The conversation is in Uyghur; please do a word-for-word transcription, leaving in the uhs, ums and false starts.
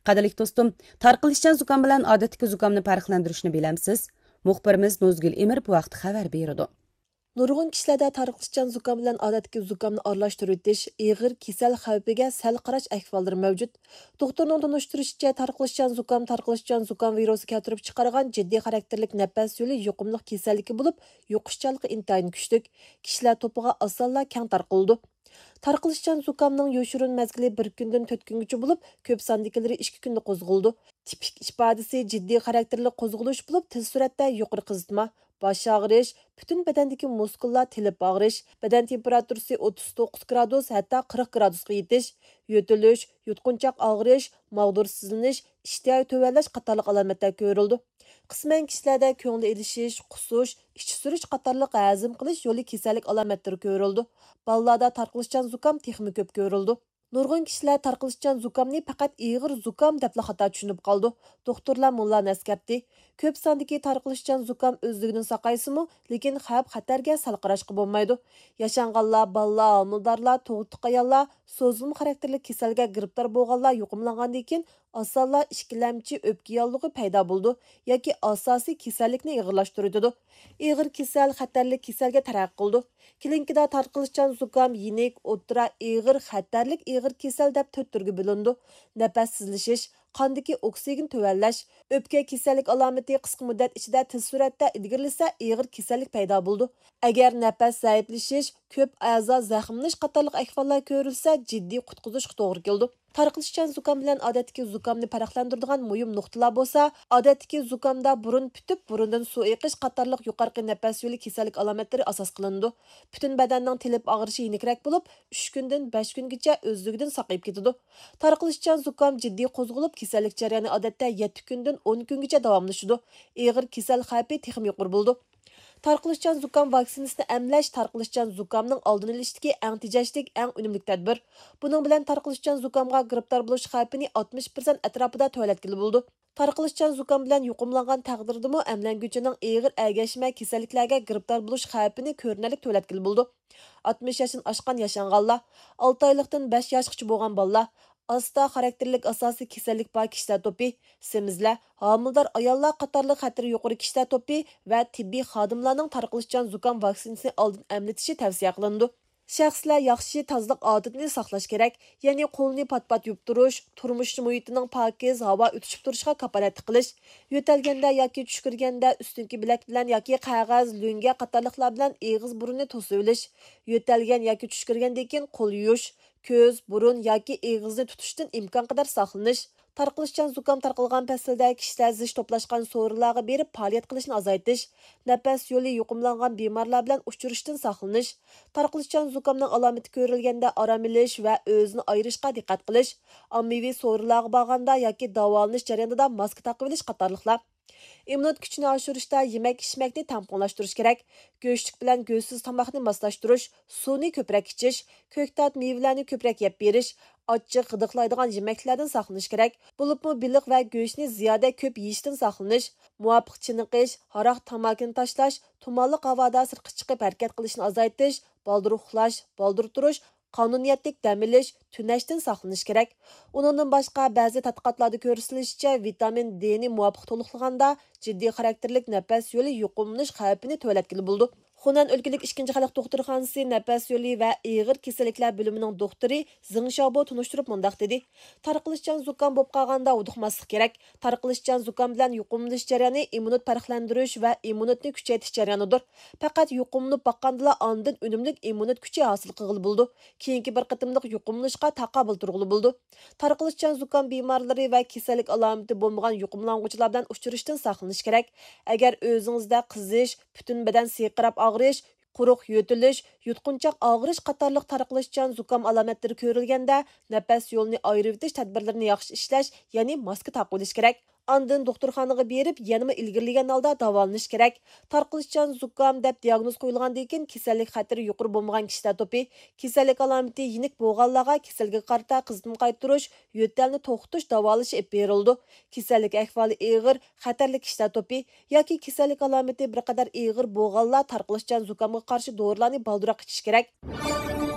قەدىرلىك دوستۇم، تارقىلىشچان زۇكام بىلەن ئادەتتىكى زۇكامنى پەرقلەندۈرۈشنى بىلەمسىز؟ مۇخبىرىمىز نۇزگۈل ئىمىر بۇ ھەقتە خەۋەر بېرىدۇ. نۇرغۇن كىشىلەردە تارقىلىشچان زۇكام بىلەن ئادەتتىكى زۇكامنى ئارىلاشتۇرۇۋېتىش، ئېغىر كېسەل خەۋپىگە سەل قاراش ئەھۋاللىرى مەۋجۇت. دوختۇرنىڭ تونۇشتۇرۇشىچە، تارقىلىشچان زۇكام تارقىلىشچان زۇكام ۋىرۇسى كەلتۈرۈپ چىقارغان جىددىي خاراكتېرلىك نەپەس يولى يۇقۇملۇق كېسەللىكى بولۇپ، يۇقۇشچانلىقى ئىنتايىن كۈچلۈك، كىشىلەر توپىغا ئاسانلا كەڭ تارقىلىدۇ. تارقىلىشچان زۇكامنىڭ يوشۇرۇن مەزگىلى بىر كۈندىن تۆت كۈنگىچە بولۇپ، كۆپ ساندىكىلىرى ئىككى كۈندە قوزغىلىدۇ. تىپىك ئىپادىسى جىددىي خاراكتېرلىك قوزغىلىش بولۇپ، تېز سۈرئەتتە يۇقىرى قىزىتما، باش ئاغرىش، پۈتۈن بەدەندىكى مۇسكۇللار تېلىپ ئاغرىش، بەدەن تېمپېراتۇرىسى ئوتتۇز توققۇز گرادۇس، ھەتتا قىرىق گرادۇسقا يېتىش، يۆتىلىش، يۇتقۇنچاق ئاغرىش، ماغدۇرسىزلىنىش، ئىشتىيا تۆۋەنلەش قاتارلىق ئالامەتلەر كۆرۈلىدۇ. قىسمەن كىشىلەردە كۆڭۈل ئېلىشىش، قۇسۇش، ئىچى سۈرۈش قاتارلىق ھەزىم قىلىش يولى كېسەللىك ئالامەتلىرى كۆرۈلىدۇ. بالىلاردا تارقىلىشچان زۇكام تېخىمۇ كۆپ كۆرۈلىدۇ. نۇرغۇن كىشىلەر تارقىلىشچان زۇكامنى پەقەت ئېغىر زۇكام دەپلا خاتا چۈشىنىپ قالىدۇ. دوختۇرلار مۇنۇلارنى ئەسكەرتتى: كۆپ ساندىكى تارقىلىشچان زۇكام ئۆزلۈكىدىن ساقايسىمۇ، لېكىن خەۋپ-خەتەرگە سەل قاراشقا بولمايدۇ. ياشانغانلار، بالىلار، ھامىلىدارلار، تۇغۇتلۇق ئاياللار، سوزۇلما خاراكتېرلىك كېسەلگە گىرىپتار بولغانلار يۇقۇملانغاندىن كېيىن، ئاسانلا ئىككىلەمچى ئۆپكە ياللۇغى پەيدا بولىدۇ ياكى ئاساسىي كېسەللىكنى ئېغىرلاشتۇرۇۋېتىدۇ. ئېغىر كېسەل خەتەرلىك كېسەلگە تەرەققىي قىلىدۇ. كلىنىكىدا تارقىلىشچان زۇكام يېنىك، ئوتتۇرا، ئېغىر، خەتەرلىك ئېغىر كېسەل دەپ تۆت تۈرگە بۆلۈنىدۇ. نەپەس تېزلىشىش، قاندىكى ئوكسىگېن تۆۋەنلەش، ئۆپكە كېسەللىك ئالامىتى قىسقا مۇددەت ئىچىدە تېز سۈرئەتتە ئىلگىرىلىسە، ئېغىر كېسەللىك پەيدا بولىدۇ. ئەگەر نەپەس زەئىپلىشىش، كۆپ ئەزا زەخىملىنىش قاتارلىق ئەھۋاللار كۆرۈلسە، جىددىي قۇتقۇزۇشقا توغرا كېلىدۇ. تارقىلىشچان زۇكام بىلەن ئادەتتىكى زۇكامنى پەرقلەندۈرىدىغان مۇھىم نۇقتىلار بولسا، ئادەتتىكى زۇكامدا بۇرۇن پۈتۈپ، بۇرۇندىن سۇ ئېقىش قاتارلىق يۇقىرىقى نەپەس يولى كېسەللىك ئالامەتلىرى ئاساس قىلىنىدۇ. پۈتۈن بەدەننىڭ تېلىپ ئاغرىشى يېنىكرەك بولۇپ، ئۈچ كۈندىن بەش كۈنگىچە ئۆزلۈكىدىن ساقىيىپ كېتىدۇ. تارقىلىشچان زۇكام جىددىي قوزغىلىپ، كېسەللىك جەريانى ئادەتتە يەتتە كۈندىن ئون كۈنگىچە داۋاملىشىدۇ. ئېغىر كېسەل خەۋپى تېخىمۇ يۇقىرى بولىدۇ. تارقىلىشچان زۇكام ۋاكسىنىسىنى ئەملەش تارقىلىشچان زۇكامنىڭ ئالدىنى ئېلىشتىكى ئەڭ تېجەشلىك، ئەڭ ئۈنۈملۈك تەدبىر. بۇنىڭ بىلەن تارقىلىشچان زۇكامغا گىرىپتار بولۇش خەۋپىنى ئاتمىش پىرسەنت ئەتراپىدا تۆۋەنلەتكىلى بولىدۇ. تارقىلىشچان زۇكام بىلەن يۇقۇملانغان تەقدىردىمۇ ئەملەنگۈچىنىڭ ئېغىر ئەگەشمە كېسەللىكلەرگە گىرىپتار بولۇش خەۋپىنى كۆرۈنەرلىك تۆۋەنلەتكىلى بولىدۇ. ئاتمىش ياشتىن ئاشقان ياشانغانلار، ئالتە ئايلىقتىن بەش ياشقىچە بولغان بالىلار، ئاستا خاراكتېرلىك ئاساسىي كېسەللىك بار كىشىلەر توپى، سېمىزلەر، ھامىلىدار ئاياللار قاتارلىق خەتىرى يۇقىرى كىشىلەر توپى ۋە تېببىي خادىملارنىڭ تارقىلىشچان زۇكام ۋاكسىنىسىنى ئالدىن ئەملىتىشى تەۋسىيە قىلىنىدۇ. شەخسلەر ياخشى تازىلىق ئادىتىنى ساقلاش كېرەك، يەنى قولنى پات-پات يۇيۇپ تۇرۇش، تۇرمۇش مۇھىتىنىڭ پاكىز ھاۋا ئۆتۈشۈپ تۇرۇشىغا كاپالەتلىك قىلىش، يۆتەلگەندە ياكى چۈشكۈرگەندە ئۈستۈنكى بىلەك بىلەن ياكى قەغەز، لۆڭگە قاتارلىقلار بىلەن ئېغىز بۇرۇننى توسۇۋېلىش، يۆتەلگەن ياكى چۈشكۈرگەندىن كېيىن قول يۇيۇش، كۆز، بۇرۇن ياكى ئېغىزنى تۇتۇشتىن ئىمكانقەدەر ساقلىنىش. تارقىلىشچان زۇكام تارقالغان پەسىلدە كىشىلەر زىچ توپلاشقان سورۇنلارغا بېرىپ پائالىيەت قىلىشنى ئازايتىش، نەپەس يولى يۇقۇملانغان بىمارلار بىلەن ئۇچرىشىشتىن ساقلىنىش، تارقىلىشچان زۇكامنىڭ ئالامىتى كۆرۈلگەندە ئارام ئېلىش ۋە ئۆزىنى ئايرىشقا دىققەت قىلىش، ئاممىۋى سورۇنلارغا بارغاندا ياكى داۋالىنىش جەريانىدا ماسكا تاقىۋېلىش قاتارلىقلار. ئىممۇنىتېت كۈچىنى ئاشۇرۇشتا يېمەك-ئىچمەكنى تەڭپۇڭلاشتۇرۇش كېرەك. گۆشلۈك بىلەن گۆشسىز تاماقنى ماسلاشتۇرۇش، سۇنى كۆپرەك ئىچىش، كۆكتات، مېۋىلەرنى كۆپرەك يەپ بېرىش، ئاچچىق، غىدىقلايدىغان يېمەكلەردىن ساقلىنىش كېرەك. بولۇپمۇ بېلىق ۋە گۆشنى زىيادە كۆپ يېيىشتىن ساقلىنىش، مۇۋاپىق چېنىقىش، ھاراق، تاماكىنى تاشلاش، تۇمانلىق ھاۋادا سىرتقا چىقىپ ھەرىكەت قىلىشنى ئازايتىش، بالدۇر ئۇخلاش، بالدۇر تۇرۇش، قانۇنىيەتلىك دەم ئېلىش، تۈنەشتىن ساقلىنىش كېرەك. ئۇنىڭدىن باشقا، بەزى تەتقىقاتلاردا كۆرسىتىلىشىچە، ۋىتامىن دېنى مۇۋاپىق تولۇقلىغاندا، جىددىي خاراكتېرلىك نەپەس يولى يۇقۇملىنىش خەۋپىنى تۆۋەنلەتكىلى بولىدۇ. خۇنەن ئۆلكىلىك ئىككىنچى خەلق دوختۇرخانىسى نەپەس يولى ۋە ئېغىر كېسەللىكلەر بۆلۈمىنىڭ دوختۇرى زېڭ شياۋبو تونۇشتۇرۇپ مۇنداق دېدى: تارقىلىشچان زۇكام بولۇپ قالغاندا ھودۇقماسلىق كېرەك. تارقىلىشچان زۇكام بىلەن يۇقۇملىنىش جەريانى ئىممۇنىتېت پەرقلەندۈرۈش ۋە ئىممۇنىتېتنى كۈچەيتىش جەريانىدۇر. پەقەت يۇقۇملىنىپ باققاندىلا ئاندىن ئۈنۈملۈك ئىممۇنىتېت كۈچى ھاسىل قىلغىلى بولىدۇ. كېيىنكى بىر قېتىملىق يۇقۇملىنىشقا تاقابىل تۇرغىلى بولىدۇ. تارقىلىشچان زۇكام بىمارلىرى ۋە كېسەللىك ئالامىتى بولمىغان يۇقۇملانغۇچىلار بىلەن ئۇچرىشىشتىن ساقلىنىش كېرەك. ئەگەر ئۆزىڭىزدە قىزىش، پۈتۈن بەدەن سىرقىراپ ئاغرىش، قۇرۇق يۆتىلىش، يۇتقۇنچاق ئاغرىش قاتارلىق تارقىلىشچان زۇكام ئالامەتلىرى كۆرۈلگەندە، نەپەس يولىنى ئايرىۋېتىش تەدبىرلىرىنى ياخشى ئىشلەش، يەنى ماسكا تاقىۋېلىش كېرەك. ئاندىن دوختۇرخانىغا بېرىپ، يەنىمۇ ئىلگىرىلىگەن ھالدا داۋالىنىش كېرەك. تارقىلىشچان زۇكام دەپ دىياگنوز قويۇلغاندىن كېيىن، كېسەللىك خەتىرى يۇقىرى بولمىغان كىشىلەر توپى، كېسەللىك ئالامىتى يېنىك بولغانلارغا كېسەلگە قارىتا قىزىتما قايتۇرۇش، يۆتەلنى توختىتىش داۋالىشى ئېلىپ بېرىلىدۇ. كېسەللىك ئەھۋالى ئېغىر، خەتەرلىك كىشىلەر توپى ياكى كېسەللىك ئالامىتى بىر قەدەر ئېغىر بولغانلار تارقىلىشچان زۇكامغا قارشى دورىلارنى بالدۇرراق ئىچىشى كېرەك.